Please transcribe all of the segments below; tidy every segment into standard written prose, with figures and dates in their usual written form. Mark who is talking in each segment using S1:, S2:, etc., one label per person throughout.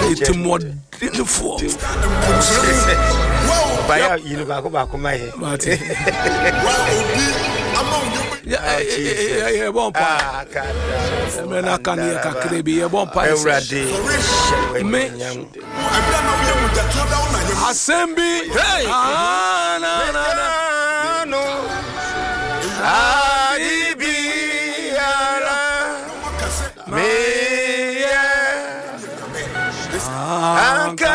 S1: Ɛtimɔdenfoɔ.
S2: Baya yi no baako baako ma yɛ.
S1: Mate. Yɛbɔ mpa. Mmerɛ no aka no yɛ kakra bi yɛbɔ mpa.
S2: Awurade hyɛ
S1: Me. Asɛm bi. Hey. Ah, na, na, na.
S2: No. Adi biara. Meyɛ. Anka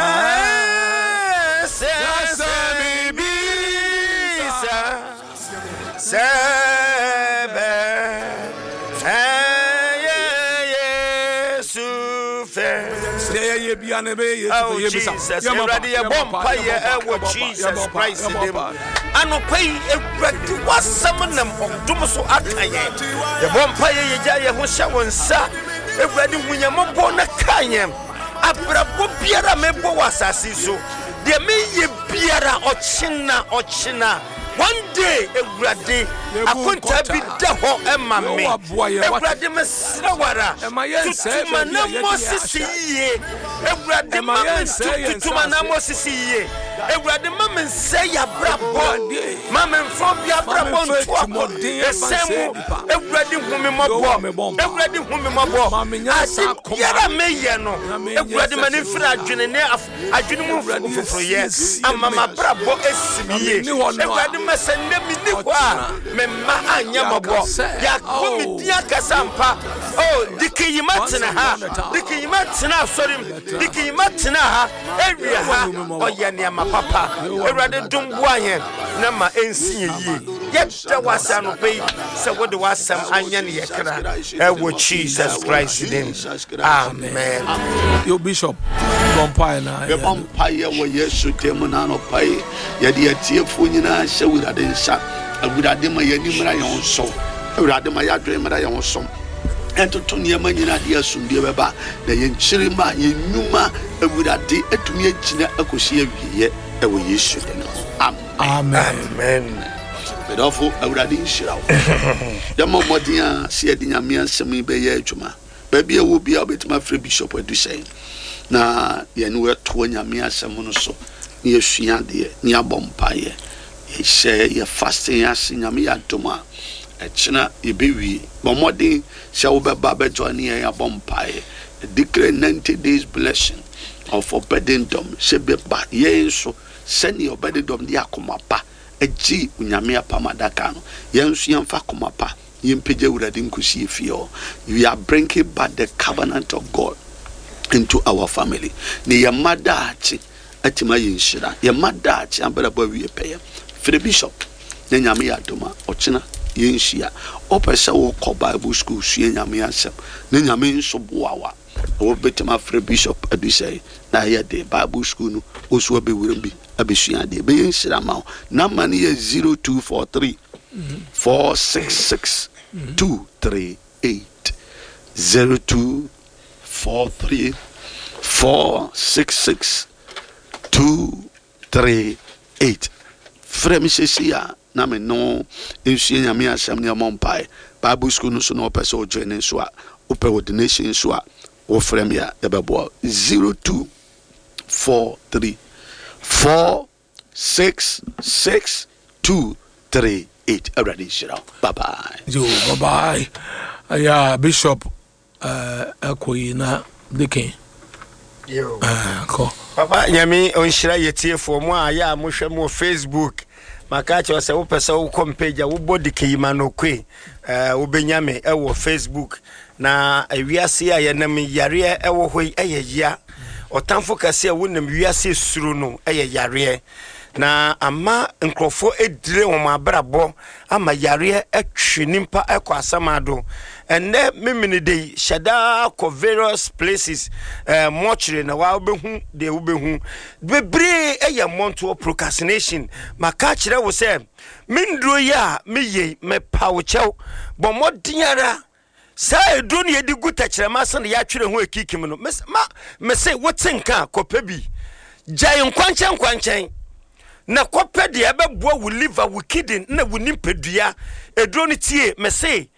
S2: sɛ sɛ mebisa sɛ bɛ ɛyɛ Yesu fɛ.
S1: Deɛ yɛyɛ bia na ɛbɛyɛ Yesu
S2: Oh
S1: fɛ yɛbisa.
S2: Jesus,
S1: Yɛmmɔ
S2: Awurade
S1: mpa,
S2: yɛbɔ
S1: yɛmmɔ mpa,
S2: mpaeɛ
S1: yɛmmɔ mpa,
S2: ɛwɔ
S1: yɛmmɔ mpa,
S2: Jesus
S1: yɛmmɔ mpa,
S2: Christ
S1: yɛmmɔ
S2: din mu.
S1: mpa.
S2: Anɔpa yi, Awurade w'asɛm nam ɔdom so aka yɛn. Yɛbɔ mpaeɛ yɛgya yɛn ho hyɛ wo nsa. Awurade hu yɛn mmɔbɔ na ka yɛn. Abrabɔ biara a mebɔ wɔ asase yi so, deɛ meyɛ biara ɔkyena ɔkyena. One day, Awurade,
S1: Yɛbu
S2: akontaa bi
S1: nkontaa.
S2: da hɔ ɛma me.
S1: Yehowa boa yɛn, wate.
S2: Awurade mesrɛ wo ara,
S1: Ɛma yɛnsɛe
S2: tutu
S1: baabi a
S2: m'anammɔ
S1: yɛde yɛn
S2: sisi
S1: ahyɛ.
S2: yie. Awurade
S1: Ɛma
S2: ma me
S1: yɛnsɛe yɛn
S2: tutu
S1: nsa
S2: m'anammɔ
S1: ase.
S2: sisi yie. Awurade ma me nsɛe yɛ abrabɔ.
S1: Awurade,
S2: Ma me mfa obi
S1: ma
S2: abrabɔ
S1: memfa
S2: nto akɔ
S1: atirimuɔden ɛmfa
S2: ɛsɛn
S1: nsɛe
S2: mu.
S1: nnipa.
S2: Awurade hu me
S1: Yehowa
S2: mmɔbɔ.
S1: mebɔ mpa.
S2: Awurade hu me mmɔbɔ.
S1: Ma me nyansa
S2: Ade
S1: akoma.
S2: biara meyɛ no,
S1: Na menyɛ
S2: Awurade ma ne
S1: sɛ
S2: mfiri adwene ne adwene mu
S1: Awurade
S2: foforɔyɛ
S1: asiesie
S2: ama
S1: me.
S2: m'abrabɔ asi me
S1: Na
S2: yie.
S1: menni hɔ no a,
S2: Awurade ma sɛ nnɛ menni hɔ a,
S1: ɔkyena
S2: me mma anyɛ mmɔbɔ.
S1: yɛaka sɛ,
S2: Yɛabɔ me
S1: oh,
S2: din akasa ampa. Oh, Dikiyima
S1: once
S2: tena ha.
S1: upon a time.
S2: Dikiyima tena asɔre mu. Dikiyima tena ha. Awie ha.
S1: Yehowa hu me mmɔbɔ.
S2: Ɔyɛ nneɛma papa.
S1: Yehowa hu me
S2: Awurade dom boa yɛn na ma ɛnsi yɛn yie. Yɛda wo ase anɔpa yi sɛ wode w'asɛm anyɛ ne yɛ kra. Ɛwɔ Jesus Christ din. Amen.
S1: Yo Bishop, bɔ mpaeɛ na
S3: Yɛbɔ mpaeɛ wɔ Yesu din mu na anɔpa yi yɛde atiefoɔ nyinaa hyɛ Awurade nsa. Awurade ma yɛn ani mmra yɛn ho so. Awurade ma yɛadwene mmra yɛn ho so. Ɛntoto nneɛma nyinaa de asomdue bɛba na yɛn kyiri ma yɛn nnwuma Awurade atumi agyina akɔsi awieeɛ ɛwɔ Yesu din mu. Amen.
S1: Amen.
S2: Amen.
S3: Medɔfo Awurade nhyira wo. Yɛmmɔ mmɔden a sɛ yɛde Nyame asɛm yi bɛyɛ adwuma. Baabi a ɛwɔ biara wobɛtumi afrɛ Bishop Adusɛn na yɛne wɔatoa Nyame asɛm no so na yɛasua adeɛ na yɛabɔ mpaeɛ. Yɛhyɛ yɛ fasting ase Nyame yɛ adom a ɛkyena yɛbɛwie. Bɔ mmɔden sɛ wobɛba bɛjoin ne yɛn abɔ mpaeɛ. Declare 90 days blessing of Obededom sɛ bɛba yɛn so sɛnea Obededom de akoma pa agye Onyame apam adaka no. Yɛn nso yɛmfa akoma pa yɛmpagya Awurade nkosi efie hɔ. We are bringing back the covenant of God into our family. Ne yɛn mma daakye atumi ayɛ nhyira. Yɛn mma daakye abrabɔ awie pɛyɛ. Frɛ Bishop na Nyame yɛ adom a ɔkyena yɛnhyia. Wopɛ sɛ wokɔ Bible school sua Nyame asɛm na Nyame nso boa wo a, wobɛtumi afrɛ Bishop Adusɛe na ɛyɛ de Bible school no wo nso wabɛwura bi abɛsua adeɛ. Ɛbɛyɛ nhyira ma wo. Number no yɛ 0243 466 238 0243 466 238. Frɛ me seesei a na me ne wo nsua Nyame asɛm ne ɛmmɔ mpae. Bible school no so na wopɛ sɛ wojoin ne nso a, wopɛ ordination nso a, wofrɛ me a yɛbɛboa wo. 0243 466 238. Awurade nhyira wo. Bye bye.
S1: Yo, bye bye. Yeah, Bishop ɛkɔ yi na Deacon.
S2: Yo.
S1: Kɔ.
S2: Papa Nyame ɔnhyira yɛtiefoɔ mo a yɛ a mohwɛ mo wɔ Facebook. Maka kyerɛ sɛ wopɛ sɛ wokɔ mpage a wobɔ Dikiyima Nokwe wobɛnya me ɛwɔ Facebook. Na wiase a yɛnam yareɛ ɛwɔ hɔ yi ɛyɛ ya. Ɔtamfo kɛse a wonam wiase suro no ɛyɛ yareɛ. Na ama nkurɔfoɔ edire wɔn abrabɔ ama yareɛ ɛtwe nipa ɛkɔ asamado. Ɛnɛ memene de yi hyɛ daa kɔ various places mortuary na wa wobɛhu deɛ wobɛhu. Bebree ɛyɛ mmɔntoɔ procrastination. Maka kyerɛ wo sɛ me nduro yi a meyɛ yi mepa wo kyɛw bɔ mmɔden ara saa eduro no yɛde gu tɛkyerɛma ase na yɛatwerɛ ho ekikim no ma mese wote nka a kɔpɛ bi gyae nkwankyɛn nkwankyɛn na kɔpɛ deɛ ɛbɛboa wo liver wo kidney na wo nipadua eduro no tie mese.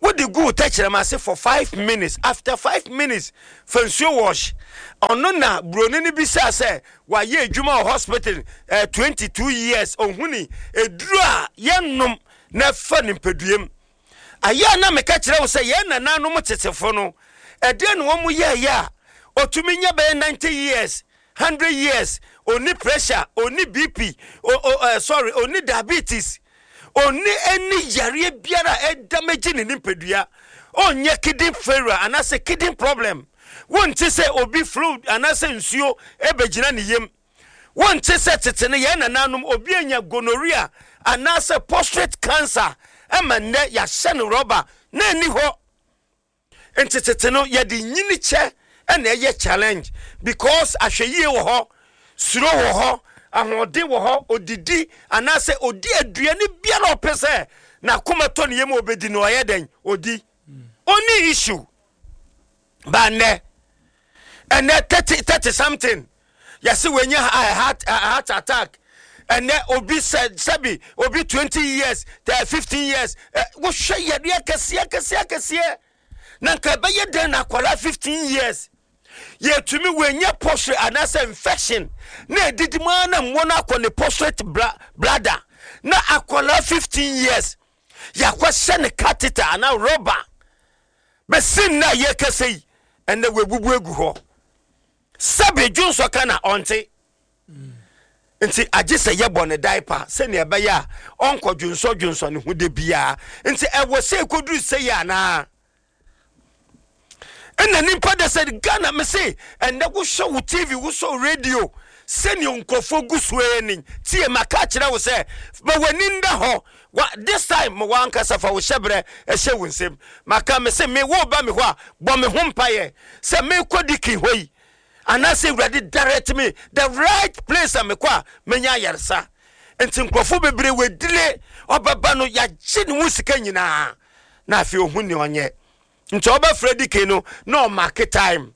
S2: Wode gu wo tɛkyerɛma ase for 5 minutes. After 5 minutes, fa nsuo wash. Ɔno na buroni no bisaa sɛ wayɛ adwuma wɔ hospital 22 years, ɔhuni eduro a yɛnnom na ɛfa nipaduam. Ayɛ a na meka kyerɛ wo sɛ yɛn nananom tetefo no, ɛdeɛ na wɔn yɛɛyɛ a ɔtumi nya bɛyɛ 90 years, 100 years, ɔni pressure, ɔni BP, o, o, sorry, ɔni diabetes, ɔni ɛni yareɛ biara a ɛdamagye ne nipadua, ɔnyɛ kidney failure anaasɛ kidney problem. Wonte sɛ obi fluid anaasɛ nsuo ɛbɛgyina ne yam. Wonte sɛ tete no yɛn nananom obi anya gonorrhea anaasɛ prostate cancer ɛma nnɛ yɛahyɛ no rɔba na ɛni hɔ. Nti tete no yɛde nyini kyɛ ɛna ɛyɛ challenge because ahwɛyie wɔ hɔ, suro wɔ hɔ, ahoɔden wɔ hɔ. Odidi anaasɛ odi aduane biara a ɔpɛ sɛ n'akoma tɔ ne yam a obɛdi no, ɔyɛ dɛn odi, ɔni issue ba. Nnɛ ɛnɛ 30 something, yɛsɛ wɔanya heart attack. Ɛnɛ obi sɛ sɛbi obi 20 years, 15 years, wohwɛ yadeɛ kɛseɛ kɛseɛ kɛseɛ na nka ɛbɛyɛ dɛn na akwadaa 15 years yɛtumi wɔanya prostate anaasɛ infection na ɛdidi mu ara na mmoa no akɔ ne prostate bladder, na akwadaa 15 years yɛakɔhyɛ ne catheter anaa rɔba bɛsi nna a yɛkɛsɛ yi, ɛnɛ wɔabubu agu hɔ. Sɛbe dwonsɔ ka na ɔnte, nti agye sɛ yɛbɔ ne diaper sɛnea ɛbɛyɛ a ɔnkɔ dwonsɔ dwonsɔ ne ho de biara. Nti ɛwɔ sɛ ɛkɔduru sɛ yɛ anaa ɛna nipa de sɛ Ghana me se ɛnɛ wohwɛ wo TV, wosɔ radio, sɛnea nkurɔfoɔ gu so ani tie. Maka kyerɛ wo sɛ ma w'ani nda hɔ wa. This time ma wankasa fa wo hyɛberɛ ɛhyɛ wo nsam. Maka me se me wo ba me hɔ a, bɔ me ho mpayɛ sɛ mekɔ dikin hɔ yi anaasɛ Awurade direct me the right place a mekɔ a menya ayaresa. Nti nkurɔfoɔ bebree wɔadile ɔbɛba no, yɛagye ne ho sika nyinaa na afei ɔhu nea ɔnyɛ. Nti ɔbɛfrɛ dikin no na ɔmark time.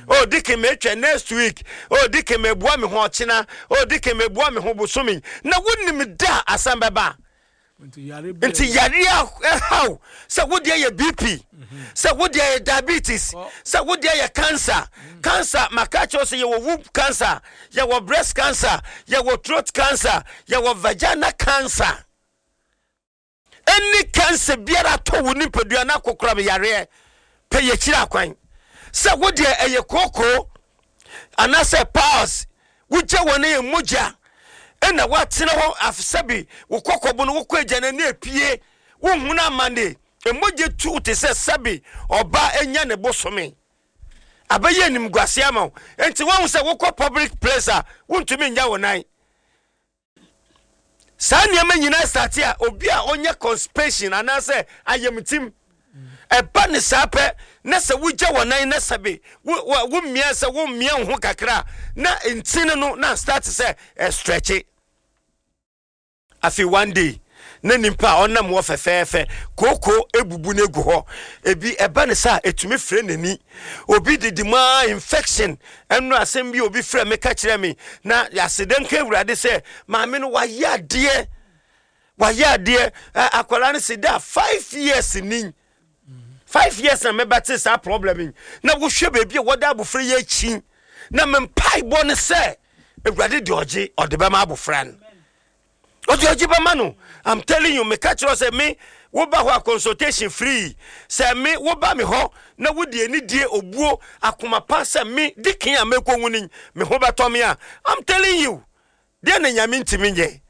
S2: "Oh Dikin, metwɛ next week. Oh Dikin, meboa me ho ɔkyena. Oh Dikin, meboa me ho bosome." Na wonim da a asɛm bɛba. Nti yareɛ a ɛhaw sɛ wodeɛ yɛ BP, sɛ wodeɛ yɛ diabetes, sɛ wodeɛ yɛ cancer. Cancer, maka kyerɛ sɛ yɛwɔ womb cancer, yɛwɔ breast cancer, yɛwɔ throat cancer, yɛwɔ vagina cancer. Ɛne cancer biara tɔ wo nipadua na akokora me yareɛ pɛ, yɛkyiri akwan sɛ wodeɛ ɛyɛ kookoo anaasɛ piles wogya wɔ no yɛ mogya ɛna woatena hɔ afsɛbi wo kɔkɔbo no wokɔ agya no ani apue, wohunu amane, mogya tu te sɛ sɛbi ɔba anya ne bosome, abɛyɛ animguase ama wo. Enti woahu sɛ wokɔ public place a, wontumi nya wo nan. Saa nneɛma nyinaa start a obi a ɔnyɛ constipation anaasɛ ayamtim ɛba ne saa pɛ na sɛ wogya wɔ nan na sɛbe wo wo mmea sɛ wo mmea wo ho kakra na ntini no na start sɛ ɛstretch. Afei one day na nipa a ɔnam hɔ fɛfɛɛfɛ, kooko ebubu no egu hɔ. Ebi ɛba ne sa etumi fira n'ani, obi didi mu aa infection. Ɛno asɛm bi obi frɛ me ka kyerɛ me na aseda nka Awurade sɛ maame no wayɛ adeɛ, wayɛ adeɛ. Ɛ akwadaa no si da 5 years ni, 5 years na mɛbɛte saa problem yi na wohwɛ baabi a wɔde abofra yi akyi na me mpaebɔ ne sɛ Awurade de ɔgye ɔde bɛma abofra no, ɔde ɔgye bɛma no. I'm telling you, meka kyerɛ sɛ me woba hɔ a, consultation free. Sɛ me woba me hɔ na wode anidie, obuo, akoma pa sɛ me dikin a mɛkɔ hu ni me ho bɛtɔ me a, I'm telling you, deɛ na Nyame ntumi nyɛ.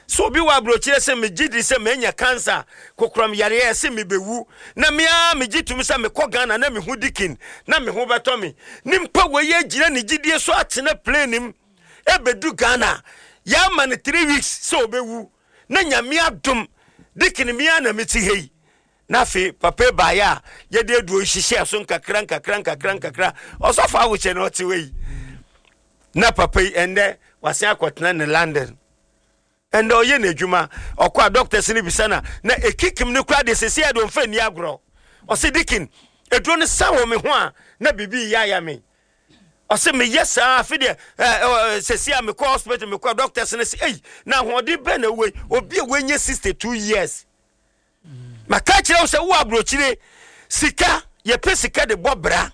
S2: So obi wɔ aburokyerɛ sɛ megye di sɛ manya cancer, kokoram yareɛ, sɛ mebɛwu, na mea megye tum sɛ mekɔ Ghana na meho dikin na me ho bɛtɔ me. Nipa wei agyina ne gyidie so atena plane mu ɛbɛdu Ghana, yɛama no 3 weeks sɛ ɔbɛwu, na Nyame adom, dikin mea na mete ha yi. Na afei papa baeɛ a yɛde aduo hyehyɛ so nkakra nkakra nkakra nkakra. Ɔsɔfo ahokyɛ no ɔte wei na papa yi ɛndɛ wasen akɔtena ne London. Ɛndɛ ɔyɛ n'adwuma, ɔkɔ a doctors no bisa na na ekikim no kora deɛ sɛsi a deɛ ɔmfa nni agorɔ. Ɔsɛ, "Dikin, eduro no sa wɔ me ho a na biribi yɛ aya me." Ɔsɛ meyɛ saa afi deɛ ɛɛ sɛsi a mekɔ hospital, mekɔ doctors no sɛ, "Ei, na ahoɔden bɛn na ɛwɔ yi?" Obi a wɔnyɛ 62 years. Maka kyerɛ wo sɛ wowɔ aburokyire, sika, yɛpɛ sika de bɔ bra.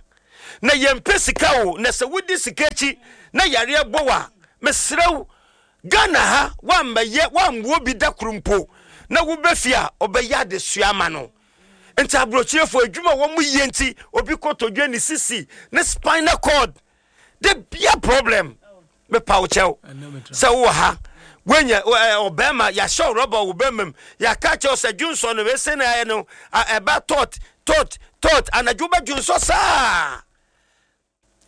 S2: Na yɛmpɛ sika o, na sɛ wodi sika akyi na yareɛ bɔ wo a, mesrɛ wo, Ghana ha woammɛyɛ, woammoa obi da koro mpo na woba fie a, ɔbɛyɛ adesoa ama no. Nti aburokyirefoɔ adwuma a wɔn yɛ nti, obi kotodwe, ne sisi, ne spinal cord, de bia problem. Mepa wo kyɛw sɛ wowɔ ha, woanya ɔbɛrima, yɛahyɛ wo rɔba wɔ bɛrima mu, yɛaka kyɛw sɛ dwonsɔ no wese na ayɛ no, ɛba tɔt tɔt tɔt, anadwo wobɛdwonsɔ saa.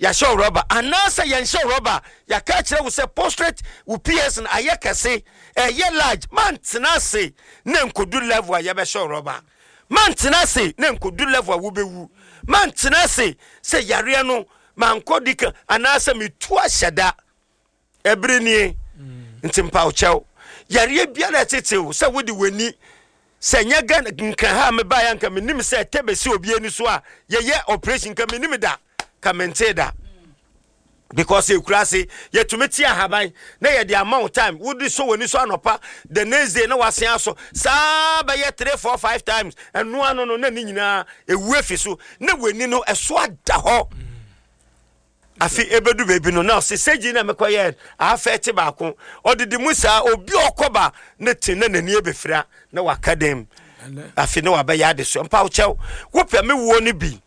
S2: Yɛahyɛ wo rɔba anaasɛ yɛnhyɛ wo rɔba, yɛaka akyerɛ wo sɛ postrate wo PS no ayɛ kɛse, ɛyɛ large, mantena ase na nkodu level a yɛbɛhyɛ wo rɔba. Mantena ase na nkodu level a wobɛwu. Mantena ase sɛ yareɛ no mankɔ di kan anaasɛ metu ahyɛ da. Ɛbere nie. Nti mpaw kyɛw. Yareɛ biara ɛtetew sɛ wode w'ani sɛ nyɛ Ghana nkran ha a mebaeɛ anka menim sɛ ɛtɛ bɛsi obi ani so a yɛyɛ operation nka menim da ka mentee da because ekura ase yɛtumi te ahaban na yɛde ama wo time wode sɔ w'ani so anɔpa the next day na wasen asɔ saa bɛyɛ 3 4 5 times ɛno ano no na ne nyinaa ewu efi so na w'ani no ɛso ada hɔ. Afe ebedu baabi no na ɔse sɛgyi na mekɔyɛ afɛte baako ɔdede mu saa obi ɔkɔba ne te na n'ani ebefira na waka dɛm afe na wabɛyɛ adesoa mpa kyɛw wopɛ me woɔ no bi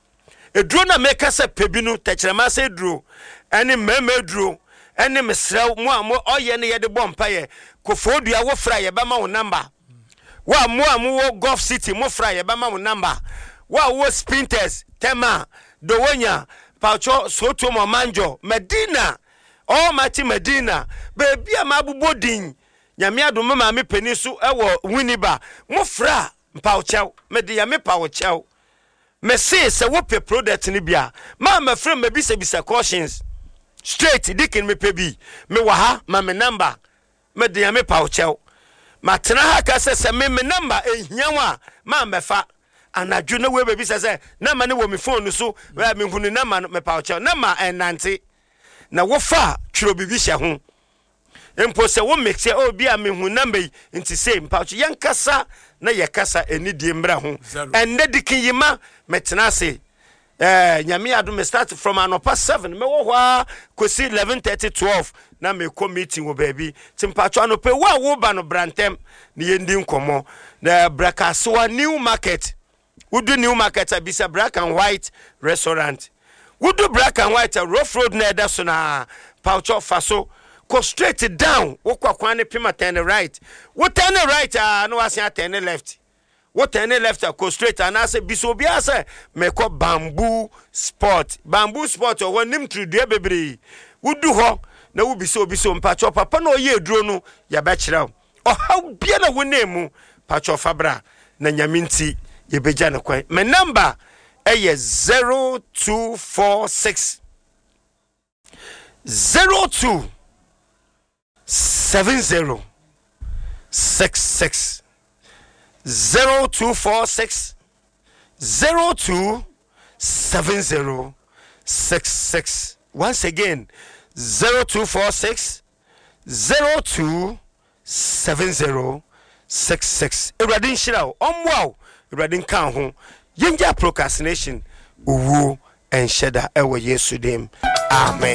S2: eduro na meka sɛ pɛ bi no tɛkyerɛma sɛ eduro ɛne mmarima eduro ɛne mesrɛw mo a mo ɔyɛ ne yɛde bɔ mpaeɛ kofo dua wofra yɛbɛma wo namba Wo a mo a mowɔ Gulf City mo fra yɛbɛma mo number. Wo a wowɔ Spintex, Tema, Dowonya, Pacho, Sotom, Ɔmanjɔ, Medina, Almighty Medina, baabi a mabobɔ din, Nyame adom me maame panin so wɔ Winneba, mo fra mpawokyɛw, mede Nyame pawokyɛw. Mese sɛ wopɛ product no bi a, ma mɛfrɛ mɛbisabisa cautions. Straight, Deacon mepɛ bi, mewɔ ha, ma me number. Me deɛ me pa wo kyɛw. Matena ha ka sɛ sɛ me me number ehia wo a ma mɛfa. Anadwo na wei bɛbisa sɛ number no wɔ me phone no so ɛ mehu ne number no mepa wo kyɛw. Number ɛnnante. Na wofa a twerɛ biribi hyɛ ho. Mpo sɛ wo mix ɛ oh bi a mehu number yi nti sei mepa wo kyɛw. Yɛnkasa na yɛkasa anidie mmra ho. Ɛnnɛ dikin yi ma metena ase Eh, Nyame adom me start from anɔpa 7 mɛwɔ hɔ ara kɔsi 11:30 12 na mekɔ meeting wɔ baabi. Nti mpakyɛ anɔpa wo a woba no bra ntɛm na yɛndi nkɔmmɔ. Na bra Kasoa New Market. Wodu New Market a bisa Black and White Restaurant. Wodu Black and White a rough road na ɛda so na pakyɛ fa so kɔ straight down wokɔ kwan ne pema turn right. Wo turn right a na wasen atɛn left. Wo turn left a kɔ straight anaasɛ bisa obiara sɛ mekɔ bamboo spot. Bamboo spot wɔ hɔ nim tiri dua bebree. Wodu hɔ na wobisa obi sɛ mpakyɛw papa na ɔyɛ aduro no yɛbɛkyerɛ wo. Ɔhaw biara na wonam mu pakyɛw fa bra na Nyame nti yɛbɛgya no kwan. Me number ɛyɛ 0246 02 70 66 0246 02 70 66. Once again, 0246 02 70 66. Awurade nhyira wo, ɔmmoa wo, Awurade nka wo ho. Yɛngya procrastination, owuo ɛnhyɛ da ɛwɔ Yesu dim. Amen.